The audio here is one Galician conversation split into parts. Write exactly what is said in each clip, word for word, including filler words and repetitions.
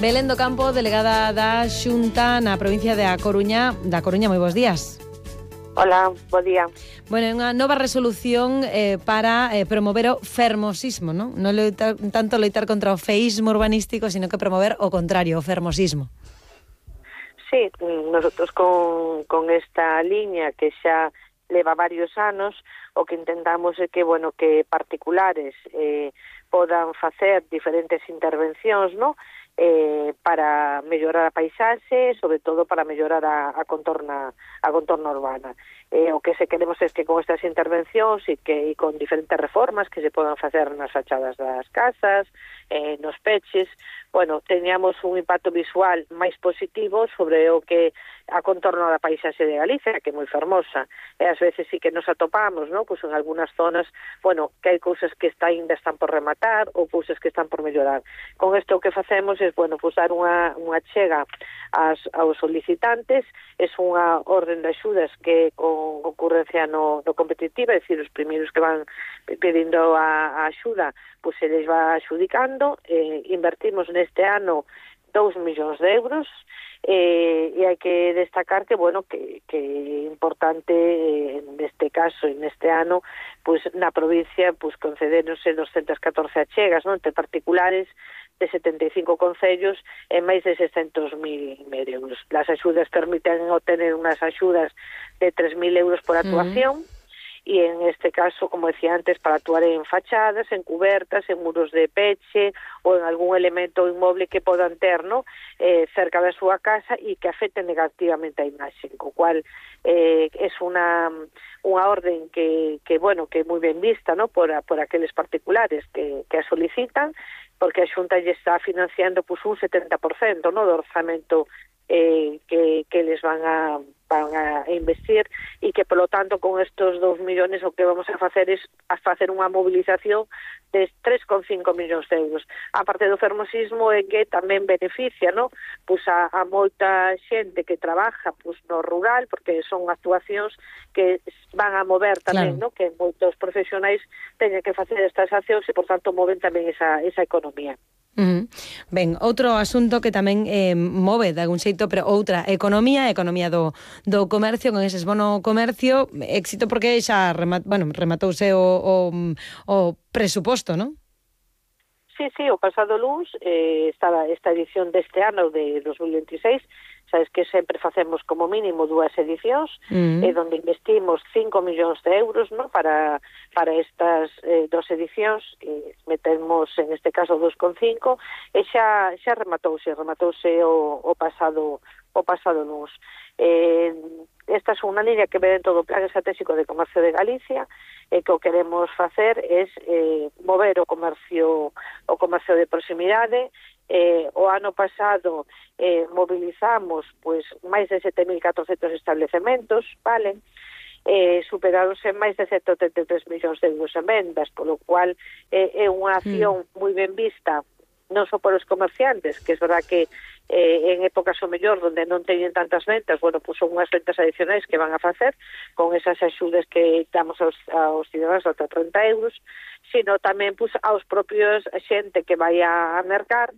Belén do Campo, delegada da Xunta na provincia de A Coruña. Da Coruña, moi bons días. Hola, bo día. Bueno, unha nova resolución eh, para eh, promover o fermosismo, non? Non loitar, tanto loitar contra o feísmo urbanístico, sino que promover o contrario, o fermosismo. Sí, nosotros con, con esta liña que xa leva varios anos, o que intentamos é que, bueno, que particulares eh, podan facer diferentes intervencións, non? Eh, para mellorar a paisaxe, sobre todo para mellorar a, a contorna a contorna urbana. Eh, o que se queremos é que con estas intervencións e que e con diferentes reformas que se podan facer nas fachadas das casas, eh, nos peches, bueno, teñamos un impacto visual máis positivo sobre o que a contorno da paisaxe de Galicia, que é moi fermosa. E ás veces sí que nos atopamos, ¿no? Pues en algunhas zonas, bueno, que hai cousas que está, ainda están por rematar ou cousas que están por mellorar. Con isto o que facemos é, bueno, pues dar unha, unha chega ás, aos solicitantes, é unha orden de axudas que con concurrencia no, no competitiva, é dicir, os primeiros que van pedindo a, a axuda, pues se les va axudicando. Eh, invertimos neste ano dous millóns de euros, eh, e hai que destacar que, bueno, que, que é importante eh, neste caso, en este ano, pues na provincia, pues concederonse doscientas catorce achegas, non, entre particulares de setenta e cinco concellos e máis de seiscentos mil euros. Las axudas permiten obtener unhas axudas de tres mil euros por actuación, mm. E en este caso, como decía antes, para actuar en fachadas, en cubertas, en muros de peche ou en algún elemento inmoble que podan ter, ¿no? eh, cerca da súa casa e que afecte negativamente a imaxe, co cual eh, é unha unha orden que, que bueno, que é moi ben vista, ¿no? por, a, por aqueles particulares que, que a solicitan, porque a Xunta lle está financiando pues, un setenta por cento, ¿no? do orzamento eh, que, que les van a van a investir, e que, polo tanto, con estos dous millóns o que vamos a facer é a facer unha movilización de tres coma cinco millóns de euros. A parte do fermosismo é que tamén beneficia, ¿no? Pues a, a moita xente que trabaja pues, no rural, porque son actuacións que van a mover tamén, claro, ¿no? Que moitos profesionais teñen que facer estas accións e, por tanto, moven tamén esa, esa economía. Uh-huh. Ben, outro asunto que tamén eh, move de algún xeito, pero outra economía, a economía do, do comercio, con eses bono comercio, éxito porque xa remat, bueno, rematouse o, o, o presuposto, non? Sí, sí, o pasado luns eh, estaba esta edición deste ano de dos mil veintiséis, sabes que sempre facemos como mínimo dúas edicións, uh-huh. eh, donde investimos cinco millóns de euros, ¿no? para para estas eh, dos edicións, que metemos en este caso dos coma cinco, e xa xa rematouse, rematouse o, o pasado o pasado luns. Eh, esta é unha liña que ve dentro do Plan Estratégico de Comercio de Galicia, e que o queremos facer é eh, mover o comercio o comercio de proximidade. Eh, o ano pasado eh, mobilizamos pues, máis de sete mil catrocentos establecementos, vale? Eh, superaronse máis de ciento oitenta e tres millóns de euros en vendas, polo cual eh, é unha acción mm. moi ben vista, non só por os comerciantes, que é verdad que eh, en épocas o mellor donde non teñen tantas ventas, bueno, pues son unhas ventas adicionais que van a facer con esas axudas que damos aos, aos cidadanos ata trinta euros, sino tamén pues, aos propios xente que vai a mercar,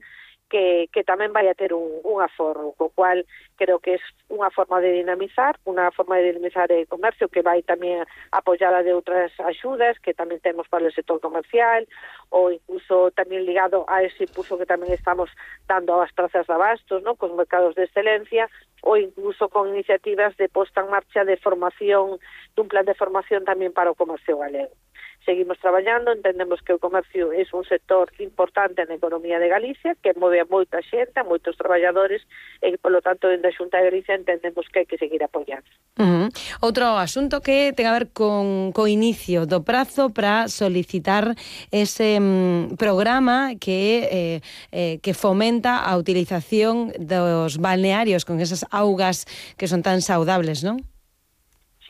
que, que tamén vai a ter un, un aforro, co cual creo que é unha forma de dinamizar, unha forma de dinamizar o comercio que vai tamén apoiada de outras axudas que tamén temos para o sector comercial, ou incluso tamén ligado a ese impulso que tamén estamos dando ás prazas de abastos, ¿no? Cos mercados de excelencia, ou incluso con iniciativas de posta en marcha de formación, dun plan de formación tamén para o comercio galego. Seguimos traballando, entendemos que o comercio é un sector importante na economía de Galicia, que move a moita xente, a moitos traballadores, e, polo tanto, dentro da Xunta de Galicia entendemos que hai que seguir apoiando. Uh-huh. Outro asunto que ten a ver con co inicio do prazo para solicitar ese um, programa que eh, eh, que fomenta a utilización dos balnearios con esas augas que son tan saudables, non?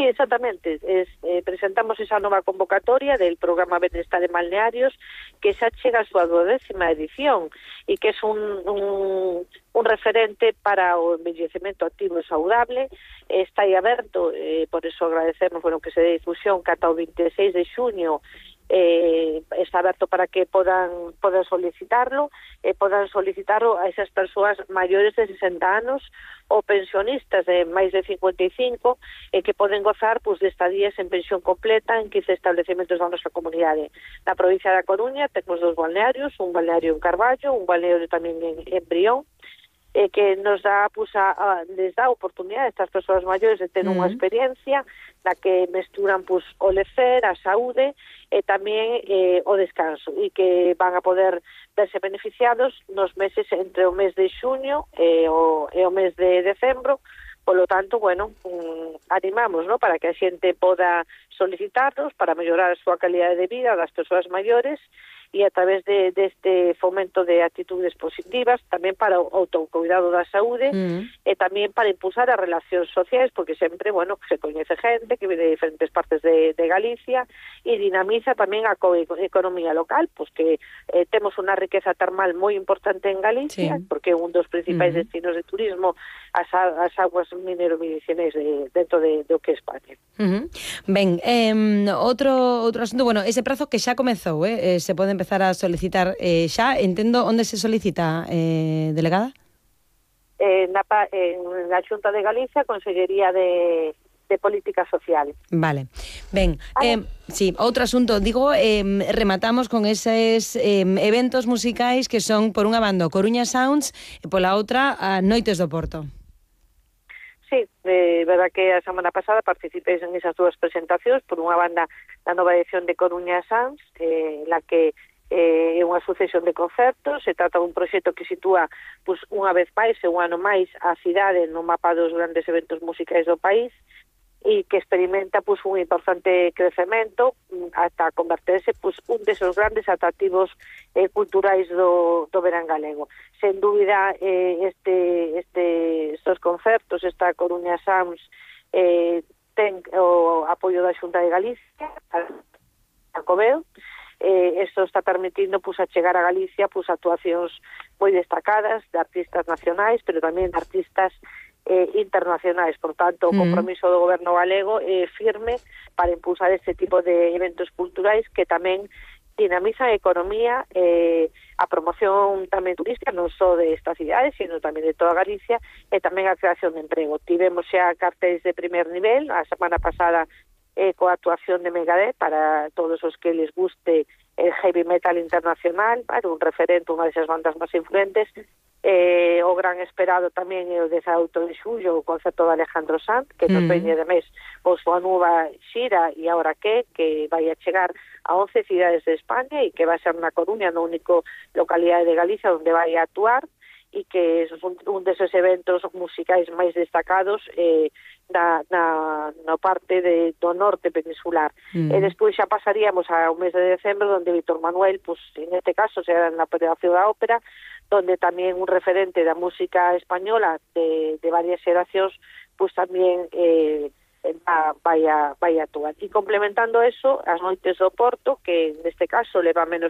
Sí, exactamente. Es, eh, presentamos esa nova convocatoria del programa Benestar en Balnearios, que xa chega a súa duodécima edición e que é un, un, un referente para o envellecemento activo e saudable. Está aí aberto, eh, por eso agradecemos bueno, que se dé difusión que ata o veintiséis de xuño eh, está aberto para que podan, podan solicitarlo, e eh, podan solicitarlo a esas persoas maiores de sesenta anos ou pensionistas de máis de cincuenta e cinco e eh, que poden gozar pues, de estadías en pensión completa en quince establecementos da nosa comunidade. Na provincia da Coruña temos dos balnearios, un balneario en Carballo, un balneario tamén en, en Brión, eh, que nos dá, pues, a, a, les dá a oportunidade a estas persoas maiores de ter mm. unha experiencia na que mesturan pues, o lecer, a saúde e tamén eh, o descanso, e que van a poder verse beneficiados nos meses entre o mes de xuño e o, e o mes de decembro. Polo tanto, bueno, um, animamos, ¿no?, para que a xente poda solicitarlos para mellorar a súa calidade de vida das persoas maiores e a través de deste fomento de actitudes positivas tamén para o autocuidado da saúde mm. e tamén para impulsar as relacións sociais, porque sempre, bueno, se coñece gente que viene de diferentes partes de, de Galicia e dinamiza tamén a economía local, pois que eh, temos unha riqueza termal moi importante en Galicia, sí. porque é un dos principais mm. destinos de turismo as, as aguas minero-medicinais de, dentro de, de o que é España. Uh-huh. Ben, eh, outro, outro asunto, bueno, ese prazo que xa comezou, eh, eh, se pode empezar a solicitar eh, xa, entendo onde se solicita, eh, delegada? Eh, na, en la Xunta de Galicia, Consellería de, de Política Social. Vale, ben, eh, sí, outro asunto, digo, eh, rematamos con eses eh, eventos musicais que son, por unha banda, Coruña Sounds e pola outra, a Noites do Porto. Sí, é eh, verdad que a semana pasada participei en esas dúas presentacións, por unha banda da nova edición de Coruña Sounds, eh, la que eh, é unha sucesión de concertos. Se trata dun proxecto que sitúa pues, unha vez máis e un ano máis a cidade no mapa dos grandes eventos musicais do país e que experimenta pues, un importante crecemento ata converterse pues, un desos grandes atractivos eh, culturais do, do verán galego. Sen dúbida, eh, este, este, estos concertos, esta Coruña Sounds, eh, ten o apoio da Xunta de Galicia, a Coveo. Eh, esto está permitindo pues, a chegar a Galicia pues, actuacións moi destacadas de artistas nacionais, pero tamén de artistas eh, internacionais. Por tanto, o compromiso do goberno galego é eh, firme para impulsar este tipo de eventos culturais que tamén dinamizan a economía, eh, a promoción tamén turística, non só de esta cidade, sino tamén de toda Galicia, e tamén a creación de emprego. Tivemos xa cartéis de primer nivel, a semana pasada eh, coa actuación de Megadeth, para todos os que les guste el heavy metal internacional, bueno, un referente, unha desas bandas máis influentes. Eh, o gran esperado tamén é o dezaoito de xullo, o concerto de Alejandro Sanz, que nos mm. veñe de mes o súa nova xira E Agora Que, que vai a chegar a once cidades de España e que vai ser na Coruña, no único localidade de Galicia onde vai a actuar, e que é un, un deses eventos musicais máis destacados eh, na, na, na parte de, do norte peninsular. Mm. E despois xa pasaríamos ao mes de decembro, onde Víctor Manuel, pues, en este caso, será na Palacio da Ópera, donde tamén un referente da música española de, de varias xeracións, pues tamén eh, va, vai, a, vai a actuar. E complementando eso, as Noites do Porto, que neste caso leva menos